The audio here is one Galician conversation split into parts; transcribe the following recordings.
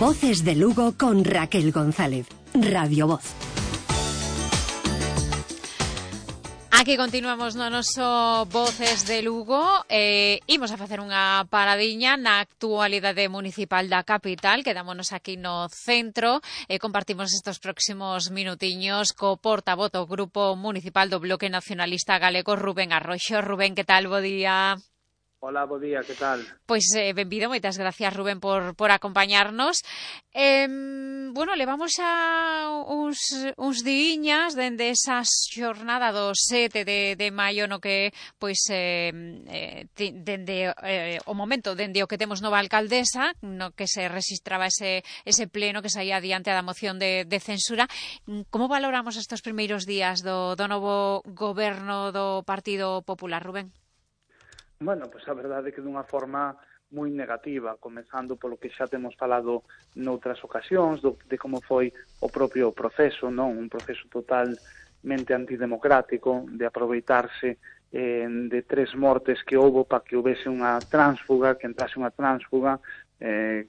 Voces de Lugo con Raquel González. Radio Voz. Aquí continuamos no noso Voces de Lugo. Imos a facer unha paradiña na actualidade municipal da capital. Quedámonos aquí no centro e compartimos estes próximos minutiños co portavoz do Grupo Municipal do Bloque Nacionalista Galego, Rubén Arroxo. Rubén, que tal? Bo día. Hola, bo día, que tal? Pois benvido, moitas gracias, Rubén, por acompañarnos. Levamos xa uns diiñas dende esa xornada do 7 de maio no que, dende o momento, dende o que temos nova alcaldesa, no que se registraba ese pleno que saía adiante da moción de censura. Como valoramos estes primeiros días do novo goberno do Partido Popular, Rubén? Bueno, pois a verdade é que dunha forma moi negativa, comezando polo que xa temos falado noutras ocasións, de como foi o propio proceso, non? Un proceso totalmente antidemocrático, de aproveitarse de 3 mortes que houbo para que houvese unha tránsfuga, que entrase unha tránsfuga,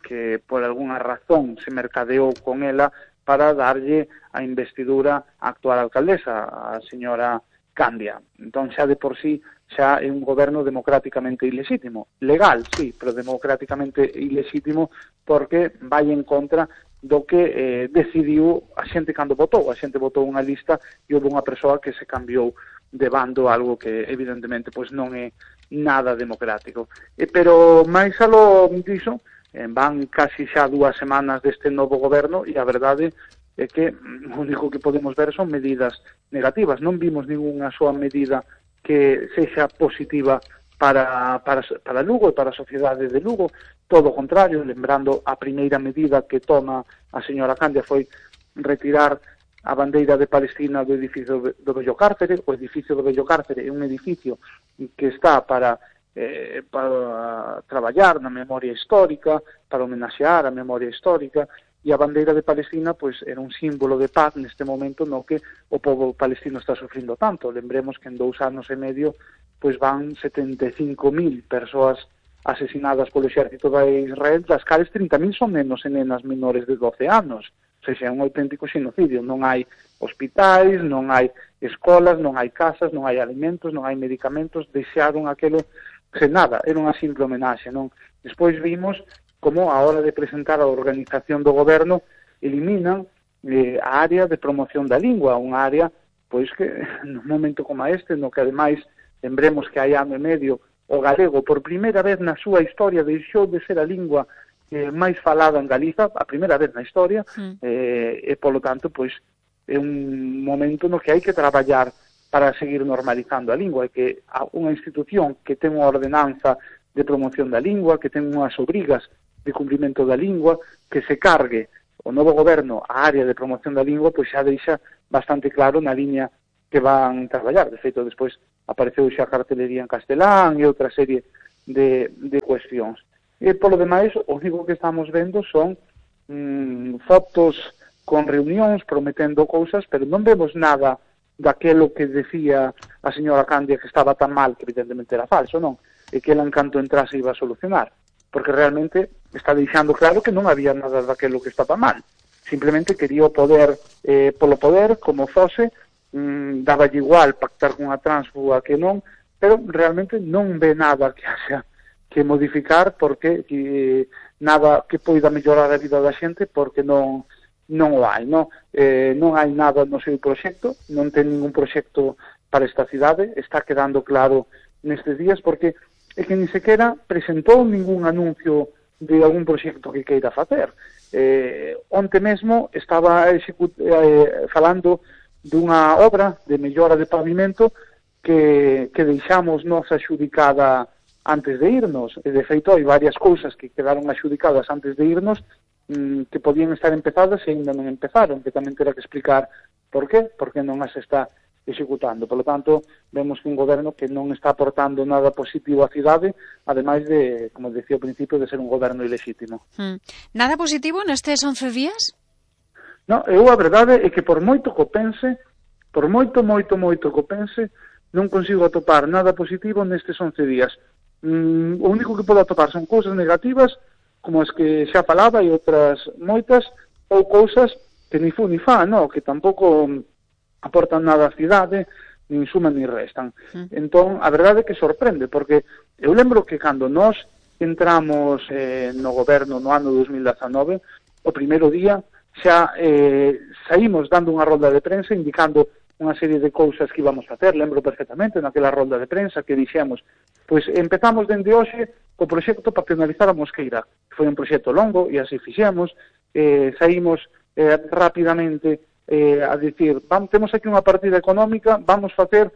que por algunha razón se mercadeou con ela para darlle a investidura á actual alcaldesa, a señora Candia. Entón xa de por sí xa é un goberno democráticamente ilexítimo. Legal, sí, pero democráticamente ilexítimo porque vai en contra do que decidiu a xente cando votou. A xente votou unha lista e houve unha persoa que se cambiou de bando, algo que evidentemente pois non é nada democrático. Pero máis aló diso, van casi xa 2 semanas deste novo goberno e a verdade é que o único que podemos ver son medidas negativas. Non vimos ninguna soa medida que sexa positiva para Lugo e para a sociedade de Lugo. Todo o contrario, lembrando a primeira medida que toma a señora Candia foi retirar a bandeira de Palestina do edificio do Bello Cárcere. O edificio do Bello Cárcere é un edificio que está para traballar na memoria histórica, para homenaxear a memoria histórica, e a bandeira de Palestina pois era un símbolo de paz neste momento no que o povo palestino está sufrindo tanto. Lembremos que en 2 anos e medio pois van 75.000 persoas asesinadas polo exército de Israel, das cales 30.000 son nenos e nenas menores de 12 anos. O sea, é un auténtico xenocidio. Non hai hospitais, non hai escolas, non hai casas, non hai alimentos, non hai medicamentos. Deixaron aquelo sen nada, era unha simple homenaxe, non? Despois vimos como a hora de presentar a organización do goberno eliminan a área de promoción da lingua, unha área pois que nun momento como este, no que ademais lembremos que hai ano e medio o galego por primeira vez na súa historia deixou de ser a lingua máis falada en Galiza, a primeira vez na historia, e polo tanto pois é un momento no que hai que traballar para seguir normalizando a lingua, e que unha institución que ten unha ordenanza de promoción da lingua, que ten unhas obrigas de cumprimento da lingua, que se cargue o novo goberno a área de promoción da lingua, pois xa deixa bastante claro na liña que van traballar. De feito, despois apareceu xa cartelería en castelán e outra serie de cuestións. E polo demais, o único que estamos vendo son fotos con reunións prometendo cousas, pero non vemos nada daquelo que decía a señora Candia que estaba tan mal, que evidentemente era falso, non? E que ela en canto entrase iba a solucionar, porque realmente está deixando claro que non había nada daquelo que estaba mal. Simplemente quería o poder polo poder, como fose, daballe igual pactar con a tránsfuga que non, pero realmente non ve nada que haxa que modificar, porque nada que poida mellorar a vida da xente, porque non o hai, non? Non hai nada no seu proxecto, non ten ningún proxecto para esta cidade, está quedando claro nestes días, porque é que ni sequera presentou ningún anuncio de algún proxecto que queira facer. Onte mesmo estaba falando dunha obra de mellora de pavimento que deixamos nos axudicada antes de irnos, e de feito hai varias cousas que quedaron axudicadas antes de irnos que podían estar empezadas e ainda non empezaron, que tamén terá que explicar por qué, porque non as está executando. Por lo tanto, vemos que un goberno que non está aportando nada positivo á cidade, ademais de, como decía ao principio, de ser un goberno ilexítimo. Nada positivo nestes 11 días? Non, eu a verdade é que por moito que pense, non consigo atopar nada positivo nestes 11 días. O único que podo atopar son cousas negativas como as que xa falaba, e outras moitas, ou cousas que ni fu ni fa, no? Que tampouco aportan nada á cidade, nin suman ni restan. Entón, a verdade é que sorprende, porque eu lembro que cando nós entramos no goberno no ano 2019, o primeiro día xa saímos dando unha rolda de prensa indicando unha serie de cousas que íbamos a hacer. Lembro perfectamente naquela rolda de prensa que dixemos, pois empezamos dende hoxe co proxecto para penalizar a Mosqueira. Foi un proxecto longo e así fixemos, saímos rapidamente a dicir, temos aquí unha partida económica, vamos facer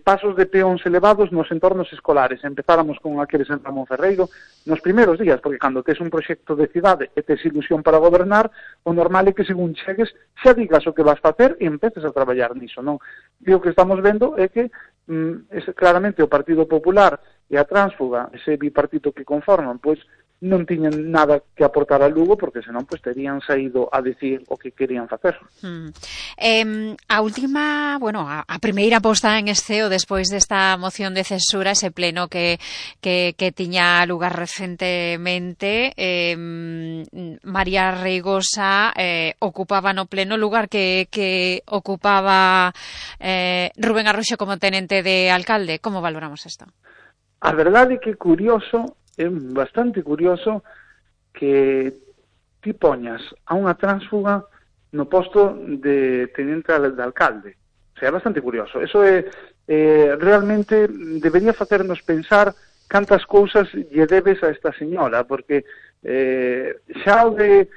pasos de peóns elevados nos entornos escolares. Empezáramos con aqueles en Ramón Ferreiro nos primeiros días, porque cando tes un proxecto de cidade e tes ilusión para gobernar, o normal é que según chegues xa digas o que vas facer e empeces a traballar niso, non? E o que estamos vendo é que claramente o Partido Popular e a Tránsfuga, ese bipartito que conforman, pois non tiñan nada que aportar a Lugo, porque senón pois terían saído a decir o que querían facer. A última, bueno, a primeira posta en esceo despois desta moción de censura, ese pleno que tiña lugar recentemente, María Reigosa ocupaba no pleno lugar que ocupaba Rubén Arroxo como tenente de alcalde. Como valoramos isto? A verdade é que curioso, é bastante curioso que ti poñas a unha tránsfuga no posto de tenente de alcalde. O sea, é bastante curioso. Eso realmente debería facernos pensar cantas cousas lle debes a esta señora, porque xa o de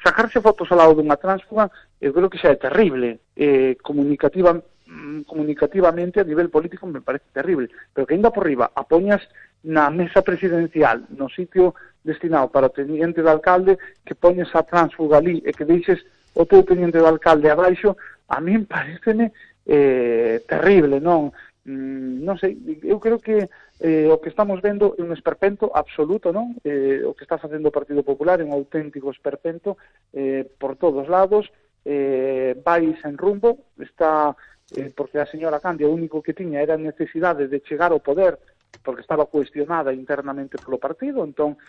sacarse fotos ao lado dunha tránsfuga, eu creo que xa é terrible. Comunicativamente a nivel político me parece terrible, pero que ainda por riba a poñas na mesa presidencial, no sitio destinado para o teniente de alcalde, que poñes a tránsfuga ali e que deixes o teu teniente de alcalde abaixo, a min pareceme terrible, non? Non sei, eu creo que o que estamos vendo é un esperpento absoluto, non? O que está facendo o Partido Popular é un auténtico esperpento por todos lados, vai sen rumbo, está porque a señora Candia o único que tiña era a necesidade de chegar ao poder, porque estaba cuestionada internamente polo partido, entón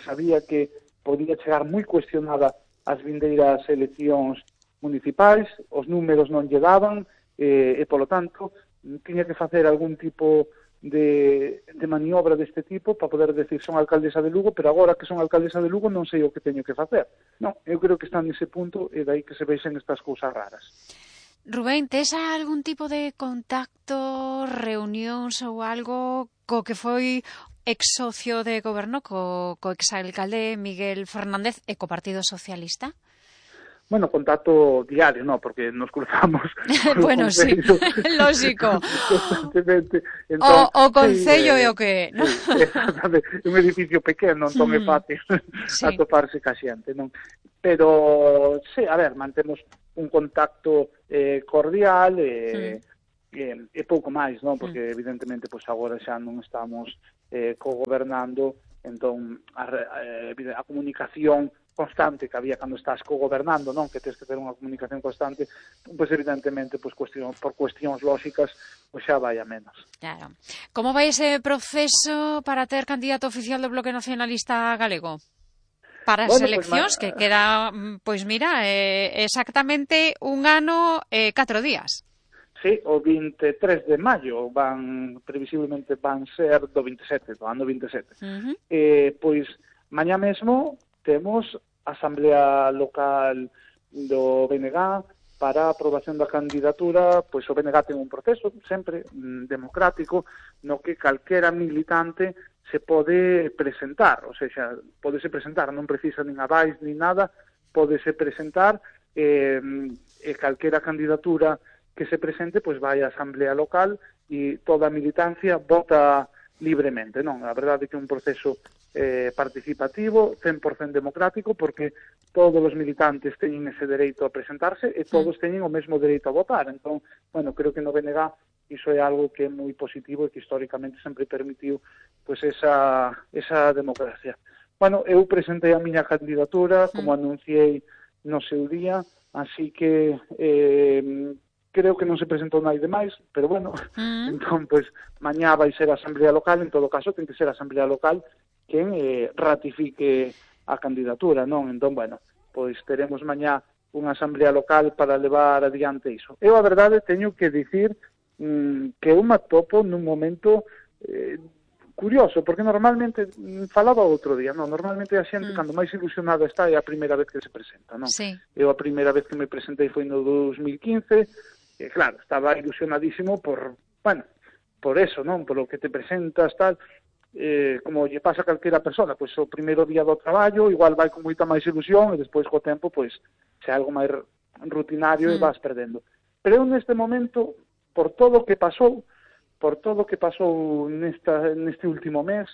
sabía que podía chegar moi cuestionada as vindeiras eleccións municipais, os números non lle daban, e polo tanto tiña que facer algún tipo de maniobra deste tipo para poder decir son alcaldesa de Lugo, pero agora que son alcaldesa de Lugo non sei o que teño que facer. Non, eu creo que está nese punto e dai que se vexen estas cousas raras. Rubén, tes algún tipo de contacto, reunións ou algo co que foi ex socio de goberno, co exalcalde Miguel Fernández e co Partido Socialista? Bueno, contacto diario, no, porque nos cruzamos. Bueno, sí, lógico. Constantemente. Entón, o Concello é o que... ¿no? É un edificio pequeno, entón é fácil atoparse ca xente, non? Pero, sí, a ver, mantemos un contacto cordial e pouco máis, non? Porque evidentemente pois agora xa non estamos cogobernando, entón a comunicación constante que había cando estás cogobernando, non? Que tens que ter unha comunicación constante, pois evidentemente pois por cuestións lóxicas pois xa vai a menos. Claro. Como vai ese proceso para ter candidato oficial do Bloque Nacionalista Galego? Para as eleccións, que queda, pois mira, exactamente un ano e 4 días. Sí, o 23 de maio previsiblemente van ser do 27, do ano 27. Pois mañá mesmo temos a Asamblea Local do BNG para a aprobación da candidatura. Pois o BNG ten un proceso sempre democrático no que calquera militante se pode presentar, ou seja, podese presentar, non precisa nin avais nin nada, podese presentar e calquera candidatura que se presente, pois vai á Asamblea Local e toda a militancia vota libremente, non? A verdade é que é un proceso participativo, 100% democrático, porque todos os militantes teñen ese dereito a presentarse e todos teñen o mesmo dereito a votar. Entón, bueno, creo que no BNG iso é algo que é moi positivo e que históricamente sempre permitiu pois esa democracia. Bueno, eu presentei a miña candidatura, como anunciei no seu día, así que creo que non se presentou nai demais, pero bueno, entón, pois, mañá vai ser a Asamblea Local, en todo caso, ten que ser a Asamblea Local, quen ratifique a candidatura, non? Entón, bueno, pois teremos mañá unha asamblea local para levar adiante iso. Eu, a verdade, teño que dicir que eu me atopo nun momento curioso, porque normalmente, falaba outro día, non? Normalmente a xente, cando máis ilusionada está, é a primeira vez que se presenta, non? Sí. Eu a primeira vez que me presentei foi no 2015, e claro, estaba ilusionadísimo por eso, non? Por o que te presentas, tal, como lle pasa a calquera persona, pois o primeiro día do traballo, igual vai con moita máis ilusión, e despois co tempo, pois, se é algo máis rutinario e vas perdendo. Pero eu neste momento, por todo o que pasou neste último mes,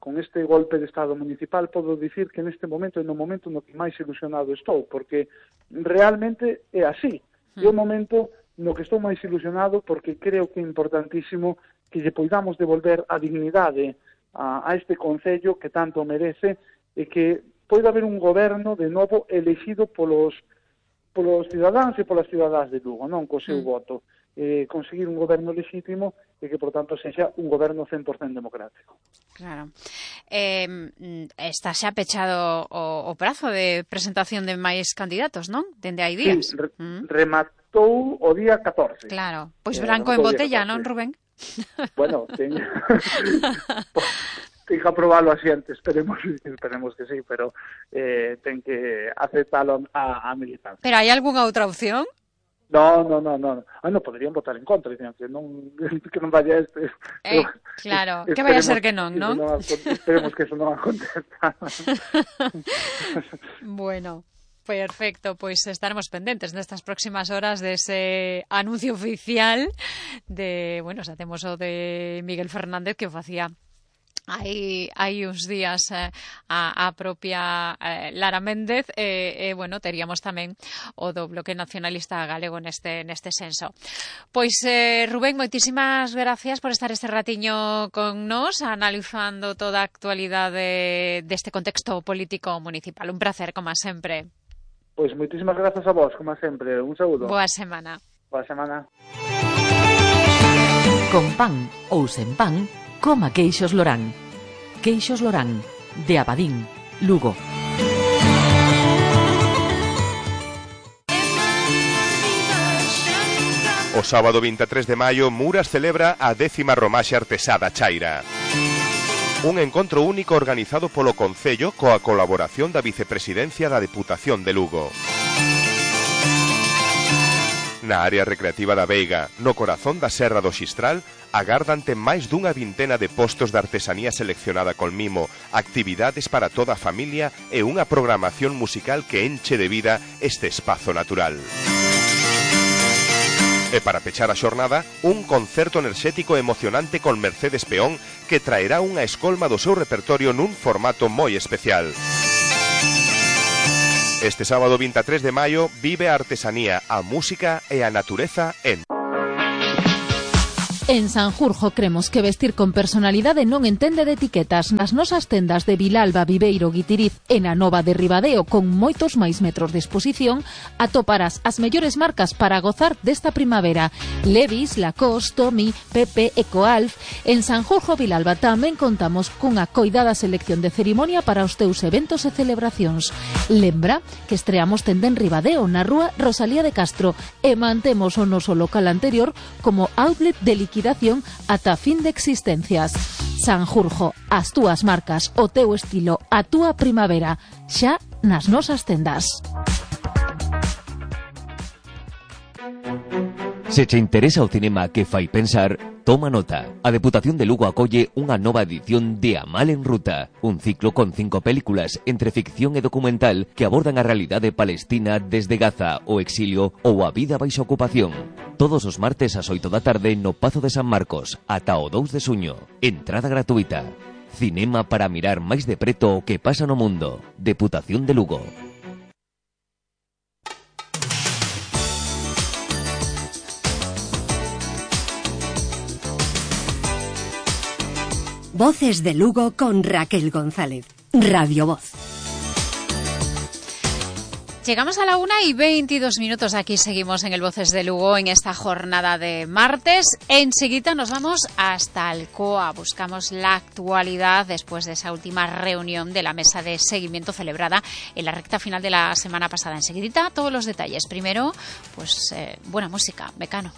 con este golpe de Estado municipal, podo dicir que neste momento é no momento no que máis ilusionado estou, porque realmente é así. É o momento no que estou máis ilusionado, porque creo que é importantísimo que lle poidamos devolver a dignidade a este concello que tanto merece, e que poida haber un goberno de novo elegido polos cidadáns e polas cidadás de Lugo, non co seu voto. Conseguir un goberno legítimo e que, por tanto, sexa un goberno 100% democrático. Claro. Está xa pechado o prazo de presentación de máis candidatos, non? Dende hai días. Sí, rematou o día 14. Claro. Pois branco en botella, non, Rubén? Bueno, ten que aprobalo a xente, esperemos que sí, pero ten que aceptalo a militancia. Pero hai algunha outra opción? No. Non poderían votar en contra, dicen que non vaya este. Claro, que vai a ser que non? Esperemos que eso non aconteza. Bueno, perfecto, pois estaremos pendentes nestas próximas horas dese anuncio oficial de, bueno, xa temos o de Miguel Fernández que o facía hai uns días a propia Lara Méndez, bueno, teríamos tamén o do Bloque Nacionalista Galego neste senso. Pois, Rubén, moitísimas gracias por estar este ratiño con nós, analizando toda a actualidade deste contexto político municipal. Un placer, como sempre. Pois moitísimas grazas a vos, como sempre. Un saúdo. Boa semana. Boa semana. Con pan ou sen pan, coma queixos Lorán. Queixos Lorán, de Abadín, Lugo. O sábado 23 de maio, Muras celebra a 10ª Romaxe Artesá da Chaira. Un encontro único organizado polo Concello coa colaboración da Vicepresidencia da Deputación de Lugo. Na área recreativa da Veiga, no corazón da Serra do Xistral, agardante máis dunha vintena de postos de artesanía seleccionada con mimo, actividades para toda a familia e unha programación musical que enche de vida este espazo natural. E para pechar a xornada, un concerto enerxético e emocionante con Mercedes Peón que traerá unha escolma do seu repertorio nun formato moi especial. Este sábado 23 de maio vive a artesanía, a música e a natureza en... En Sanjurjo cremos que vestir con personalidade non entende de etiquetas. Nas nosas tendas de Vilalba, Viveiro, Guitiriz e na Nova de Ribadeo, con moitos máis metros de exposición, atoparás as mellores marcas para gozar desta primavera. Levi's, Lacoste, Tommy, Pepe, Ecoalf. En Sanjurjo, Vilalba, tamén contamos cunha coidada selección de cerimonia para os teus eventos e celebracións. Lembra que estreamos tenda en Ribadeo, na rúa Rosalía de Castro, e mantemos o noso local anterior como outlet de liquidación ata fin de existencias. Sanjurjo, as túas marcas, o teu estilo, a túa primavera, xa nas nosas tendas. Se che interesa o cinema que fai pensar, toma nota. A Deputación de Lugo acolle unha nova edición de A Mal en Ruta, un ciclo con 5 películas entre ficción e documental que abordan a realidade palestina desde Gaza, o exilio ou a vida baixo ocupación. Todos os martes ás 8 da tarde no Pazo de San Marcos, ata o 2 de xuño. Entrada gratuita. Cinema para mirar máis de preto o que pasa no mundo. Deputación de Lugo. Voces de Lugo con Raquel González. Radio Voz. Llegamos a la 1:22. Aquí seguimos en el Voces de Lugo en esta jornada de martes. Enseguida nos vamos hasta Alcoa. Buscamos la actualidad después de esa última reunión de la mesa de seguimiento celebrada en la recta final de la semana pasada. Enseguida todos los detalles. Primero, pues buena música, Mecano.